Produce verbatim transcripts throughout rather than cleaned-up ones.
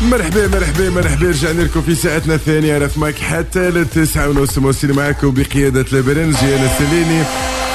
مرحبا مرحبا مرحبا، رجعنا لكم في ساعتنا الثانية رفمك حتى للتسعة ونص. موصلين معكم بقيادة البرنجي أنا السليني،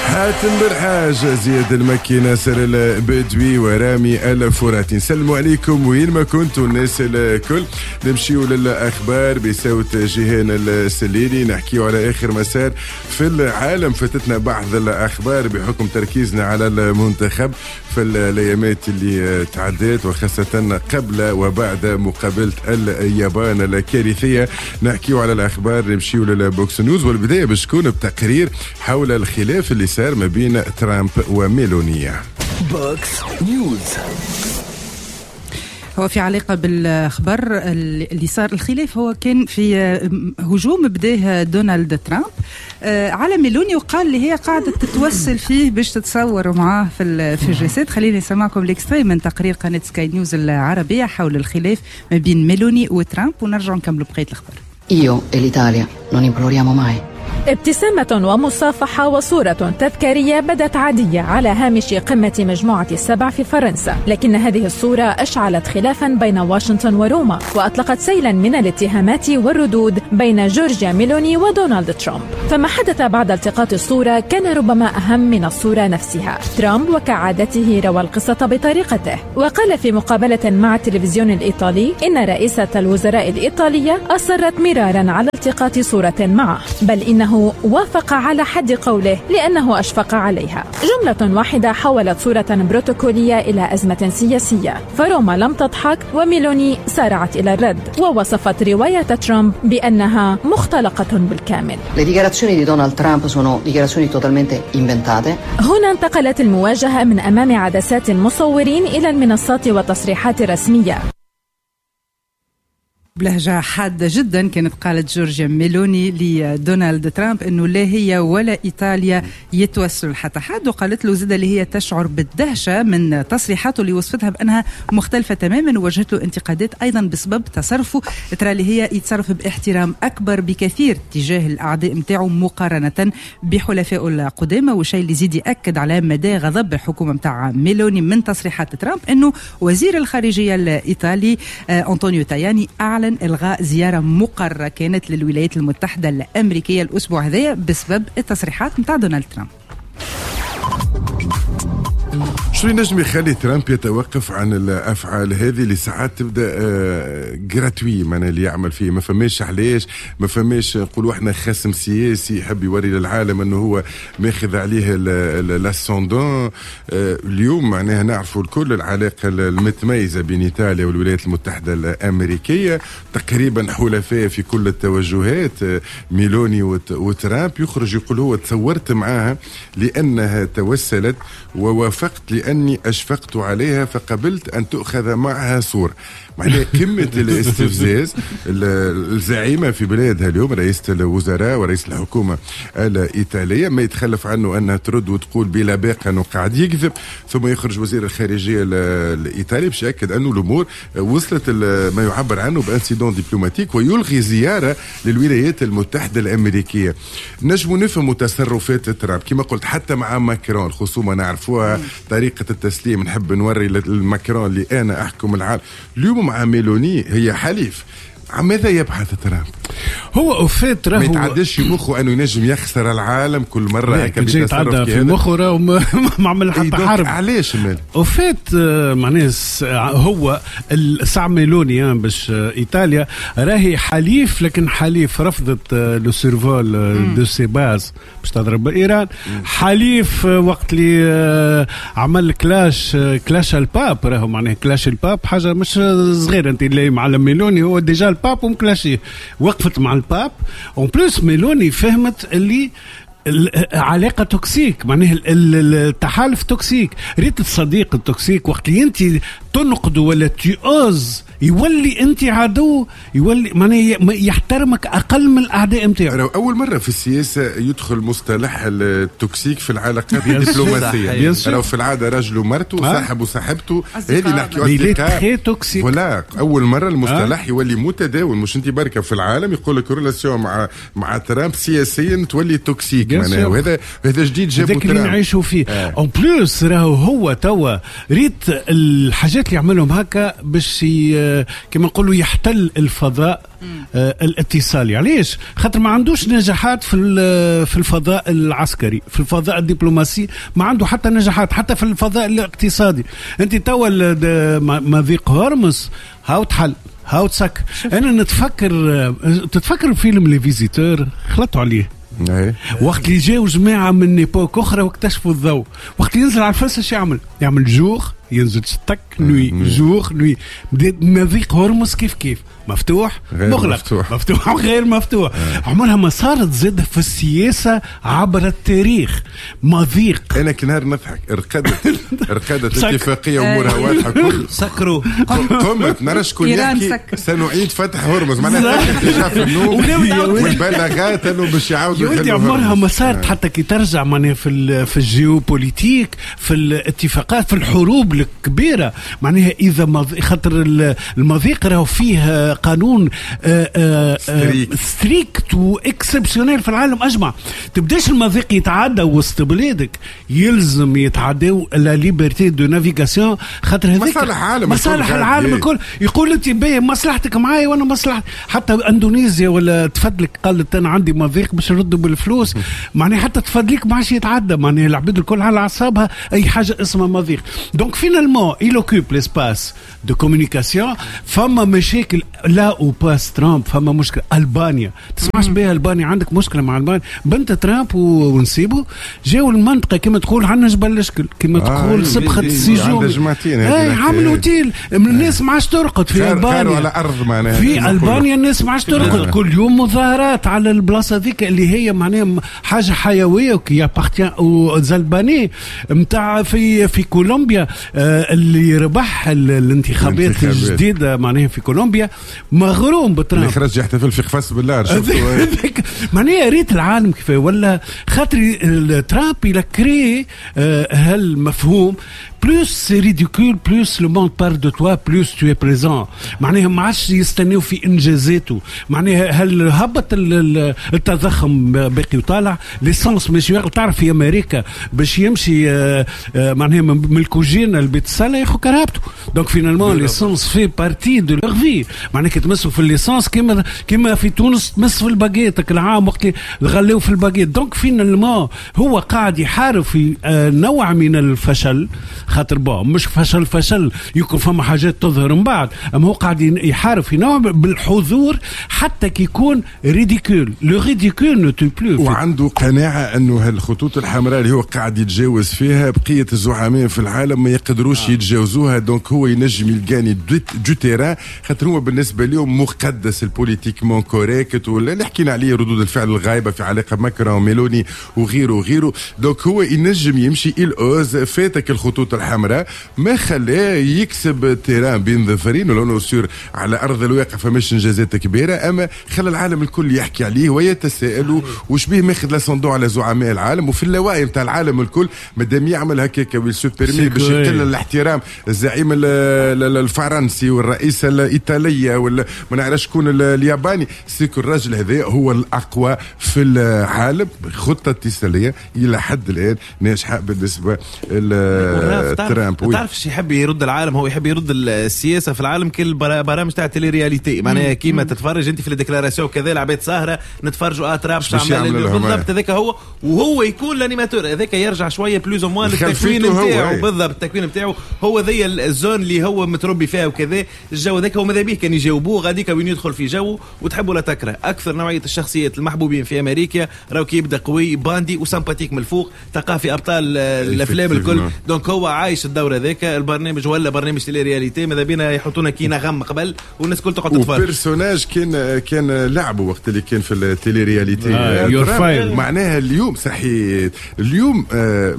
حاتم بالحاج، زياد المكي، ناصر البدوي ورامي الفراتي. نسلموا عليكم وين ما كنتوا الناس الكل. نمشيو للأخبار بصوت جيهان السليني، نحكيو على آخر مسار في العالم. فاتتنا بعض الأخبار بحكم تركيزنا على المنتخب في الأيامات اللي تعدت، وخاصة قبل وبعد مقابلة اليابان الكارثية. نحكيو على الأخبار، نمشيو لل box news، والبداية باش تكون بتقرير حول الخلاف اللي صار ما بين ترامب وميلوني. box news. هو في علاقة بالخبر اللي صار الخلاف، هو كان في هجوم بداه دونالد ترامب على ميلوني، وقال اللي هي قاعدة تتوسل فيه باش تتصور معاه في في الجلسات. خليني نسمعكم l'extrait من تقرير قناة سكاي نيوز العربية حول الخلاف ما بين ميلوني وترامب، ونرجع نكملوا بقية الأخبار. Io e l'Italia non imploriamo mai. ابتسامة ومصافحة وصورة تذكارية بدت عادية على هامش قمة مجموعة السبع في فرنسا، لكن هذه الصورة أشعلت خلافا بين واشنطن وروما، وأطلقت سيلا من الاتهامات والردود بين جورجيا ميلوني ودونالد ترامب. فما حدث بعد التقاط الصورة كان ربما أهم من الصورة نفسها. ترامب وكعادته روى القصة بطريقته، وقال في مقابلة مع التلفزيون الإيطالي إن رئيسة الوزراء الإيطالية أصرت مرارا على التقاط صورة معه، بل إنه وافق على حد قوله لأنه أشفق عليها. جملة واحدة حولت صورة بروتوكولية إلى أزمة سياسية، فروما لم تضحك وميلوني سارعت إلى الرد، ووصفت رواية ترامب بأنها مختلقة بالكامل. Le dichiarazioni di Donald Trump sono dichiarazioni totalmente inventate. هنا انتقلت المواجهة من أمام عدسات المصورين إلى المنصات والتصريحات الرسمية. بلهجة حادة جدا كانت قالت جورجيا ميلوني لدونالد ترامب أنه لا هي ولا إيطاليا يتوسلوا حتى حد، وقالت له زاد اللي هي تشعر بالدهشة من تصريحاته اللي وصفتها بأنها مختلفة تماما، ووجهت له انتقادات أيضا بسبب تصرفه. ترى اللي هي يتصرف باحترام أكبر بكثير تجاه الأعداء متاعه مقارنة بحلفائه القدامى، والشيء اللي زيد يأكد على مدى غضب الحكومة متاع ميلوني من تصريحات ترامب أنه وزير الخارجية الإيطالي أنطونيو تاياني أعلن إلغاء زيارة مقررة كانت للولايات المتحدة الأمريكية الأسبوع هذا بسبب التصريحات متاع دونالد ترامب. شو ينجم يخلي ترامب يتوقف عن الافعال هذه اللي ساعات تبدا gratuit، معناها اللي يعمل فيه ما فماش علاش، ما فماش نقولوا احنا خصم سياسي يحب يوري للعالم انه هو ماخذ عليه l'ascendant. اليوم معناها نعرفوا الكل العلاقة المتميزة بين ايطاليا والولايات المتحدة الامريكية، تقريبا حلفاء في كل التوجهات. ميلوني وترامب يخرج يقول هو تصورت معاها لانها توسلت ووافقت لأني أشفقت عليها فقبلت أن تأخذ معها صورة. معناها قمة الاستفزاز. الزعيمة في بلادها اليوم رئيسة الوزراء ورئيس الحكومة الإيطالية ما يتخلف عنه أنها ترد وتقول بلا باقة أنه قاعد يكذب، ثم يخرج وزير الخارجية الإيطالي باش يأكد أنه الأمور وصلت ما يعبر عنه ب incident diplomatique ويلغي زيارة للولايات المتحدة الأمريكية. نجم نفهم تصرفات ترامب كما قلت حتى مع ماكرون، الخصومة نعرفوها، طريقة التسليم نحب نوري لماكرون اللي أنا أحكم العالم. اليوم مع ميلوني هي حليف، ماذا يبحث ترامب؟ هو au fait راهو ما يتعداش في مخه انه ينجم يخسر العالم كل مرة هكا بيتصرف في مخه راهو ما عمل حتى حرب. علاش مال au fait معناه هو الساعة ميلوني باش ايطاليا راهي حليف، لكن حليف رفضت le survol de ses bases باش تضرب ايران، حليف وقت اللي عمل clash clash ال pape، راهو معناه clash ال pape حاجة مش صغيرة، انت اللي معلم ميلوني هو déjà ال pape ومكلاشيه، وقفت مع ال pape. en plus ميلوني فهمت اللي علاقة toxique، معناه التحالف toxique. ريت الصديق ال toxique وقت اللي انت تنقد ولا tu oses يولي انت عدو، يولي معناه يحترمك اقل من الاعداء نتاعو. اول مرة في السياسة يدخل مصطلح ال toxique في العلاقات الدبلوماسية. لو في العادة رجل ومرته، صاحب وصاحبته، هذه نحكي très toxique. ولا اول مرة المصطلح يولي متداول، مش انت بركة في العالم يقول لك relation مع مع ترامب سياسيا تولي toxique، معناها وهذا هذا جديد جابو ترامب اللي نعيشوا فيه. en plus راهو هو توا ريت الحاجات اللي يعملهم هكا باش كما نقولوا يحتل الفضاء آه الاتصالي. علاش؟ خاطر ما عندوش نجاحات في في الفضاء العسكري، في الفضاء الدبلوماسي ما عنده حتى نجاحات، حتى في الفضاء الاقتصادي. انت توا مضيق هرمز هاو تحل هاو تسك. انا نتفكر تتفكر فيلم Les Visiteurs، خلطوا عليه وقت اللي جاوا جماعة من époque اخرى واكتشفوا الضوء، وقت ينزل على الفلسه شو يعمل؟ يعمل jour ينزل تك nuit jour nuit. مضيق هرمز كيف كيف مفتوح مغلق مفتوح, مفتوح غير مفتوح. عمرها ما صارت زاد في السياسة عبر التاريخ مضيق. انا كنهار نضحك رقدت رقدت الاتفاقية امورها واضحة كل سكروا قمت نرى شكون يحكي سنعيد فتح هرمز، معناها déjà في النوم والبلاغات انه باش يعاودوا. يا عمرها ما صارت حتى كي ترجع معناها في في ال géopolitique في الاتفاقات في الحروب الكبيرة معناها اذا مض... خاطر المضيق راهو فيه قانون strict و exceptionnel في العالم اجمع. تبداش المضيق يتعدى وسط بلادك، يلزم يتعداو la liberté de navigation خاطر هذيك مصالح العالم، مصالح العالم الكل. يقول انت باهي مصلحتك معايا وانا مصلحتي. حتى اندونيسيا ولا تفدلك قالت انا عندي مضيق باش نردوا بالفلوس، معناها حتى تفدلك ما عادش يتعدى، معناها العباد الكل على اعصابها اي حاجة اسمها مضيق. donc finalement il occupe l'espace de communication. فما مشاكل là où passe ترامب، فما مشكلة ألبانيا تسمعش بها ألبانيا، عندك مشكلة مع ألبانيا. بنت ترامب ونسيبه جاوا المنطقة كما تقول عندنا جبل الشكل، كما تقول آه سبخة السيجوم، اي عملوا اوتيل الناس ما عادش ترقد في ألبانيا على أرض معناها في ألبانيا الناس ما عادش ترقد، كل يوم مظاهرات على البلاصة ذيك اللي هي معناها حاجة حيوية qui appartient aux Albanais نتاع في في كولومبيا. آه اللي ربح الانتخابات الجديدة معناها في كولومبيا مغروم بترامب، اللي خرج يحتفل في قفص بالله. معناها ريت العالم كيف ولا خاطر ترامب il a créé هالمفهوم plus c'est ridicule plus le monde parle de toi plus tu es présent. معناها ما عادش يستناو في انجازاته، معناها هل هبط التضخم باقي وطالع l'essence مش تعرف في امريكا باش يمشي معناها من الكوجينه لبيت الصاله ياخذ كرهبته. donc finalement l'essence fait partie de leur vie، معناها كي تمسوا في l'essence كيما كيما في تونس تمس في الباكيت العام وقت غلاو في ال baguette. donc finalement هو قاعد يحارب في نوع من الفشل، خاطر bon مش فشل فشل يكون فما حاجات تظهر من بعد، اما هو قاعد يحارب في نوع بالحضور حتى كي يكون ridicule، le ridicule ne tue plus. وعنده قناعة انه هالخطوط الحمراء اللي هو قاعد يتجاوز فيها بقية الزعماء في العالم ما يقدروش آه. يتجاوزوها. donc هو ينجم يلقاني du terrain، خاطر هو بالنسبة لهم مقدس ال politiquement correct ولا اللي حكينا عليه ردود الفعل الغايبه في علاقة ماكرون وميلوني وغيره وغيره. donc هو ينجم يمشي il ose فاتك الخطوط الحمراء ما خلاه يكسب terrain بين ظفرين، ولو sûr على ارض الواقع فماش انجازات كبيرة، اما خلى العالم الكل يحكي عليه ويتساءلوا وش بيه ماخذ l'ascendant على زعماء العالم وفي اللاوعي نتاع العالم الكل. مادام يعمل هكاك و il se permet باش يقل الاحترام الزعيم الفرنسي والرئيس الايطالية ولا ما نعرفش شكون الياباني، c'est que الراجل هذا هو الاقوى في العالم. خطه اتصاليه الى حد الان ناجحة بالنسبة لترامب. تعرف شو يحب يرد العالم؟ هو يحب يرد السياسة في العالم كل برامج تاع télé-réalité، معناها كيما تتفرج انت في ال déclarations كذا العباد سهره نتفرجوا اه ترامب عمل بالضبط هذاك هو، وهو يكون l'animateur هذاك يرجع شوية plus ou moins للتكوين نتاعو بالضبط. التكوين نتاعو هو ذي ال zone اللي هو متربي فيها وكذا الجو هذاك هو ماذا به كان يجاوبوه غاديك وين يدخل في جو وتحب ولا تكره. اكثر نوعية الشخصيات المحبوبين في امريكا راهو كي يبدا قوي bandit و sympathique من الفوق تلقاه في ابطال الافلام الكل. donc هو عايش الدور هذاك البرنامج ولا برنامج télé-réalité ماذا بينا يحطونا كي نغم قبل والناس الكل تقعد تتفرج. و personnage كان كان لعبه وقت اللي كان في ال télé-réalité آه معناها اليوم صحيح اليوم آه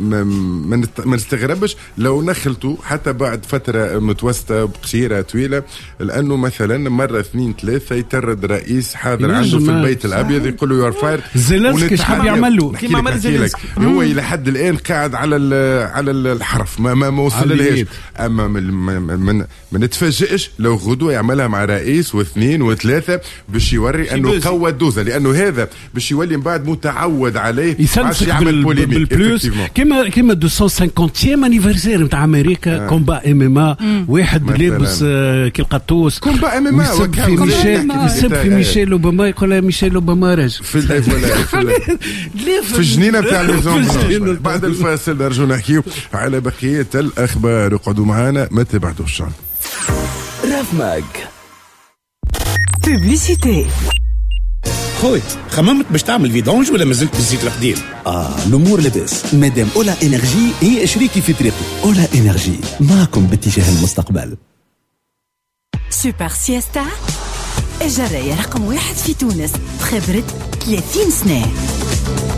ما نستغربش لو نخلته حتى بعد فترة متوسطه قصيرة طويلة، لانه مثلا مرة اثنين ثلاثة يترد رئيس حاضر عنده في البيت الابيض يقول له you're fired. زيلنسكي شحال يعمل له كيما عمل زيلنسكي هو الى حد الان قاعد على على الحرف ما ما, ما وصل لهاش. اما من من ما نتفاجئش لو غدوه يعملها مع رئيس واثنين وثلاثة باش يوري انه قوى الدوزه، لانه هذا باش يولي من بعد متعود عليه باش يعمل polémique بال plus. كيما كيما مئتين وخمسين anniversaire نتاع امريكا، combat MMA، واحد لابس كي القطوس combat MMA يسب في ميشيل، يسب في ميشيل اوباما، يقول لها ميشيل اوباما راجل في في الجنينة نتاع Maison. بعد الفاصل نرجو نحكيو على بقية الاخبار، اقعدوا معنا ما تبعدوش. راف ماك publicité. خوي خممت باش تعمل vidange ولا مازلت بالزيت القديم؟ اه الامور لاباس مادام Ola Energy هي شريكي في طريقي. Ola Energy معكم باتجاه المستقبل. Super Siesta الجراية رقم واحد في تونس بخبرة ثلاثين سنة.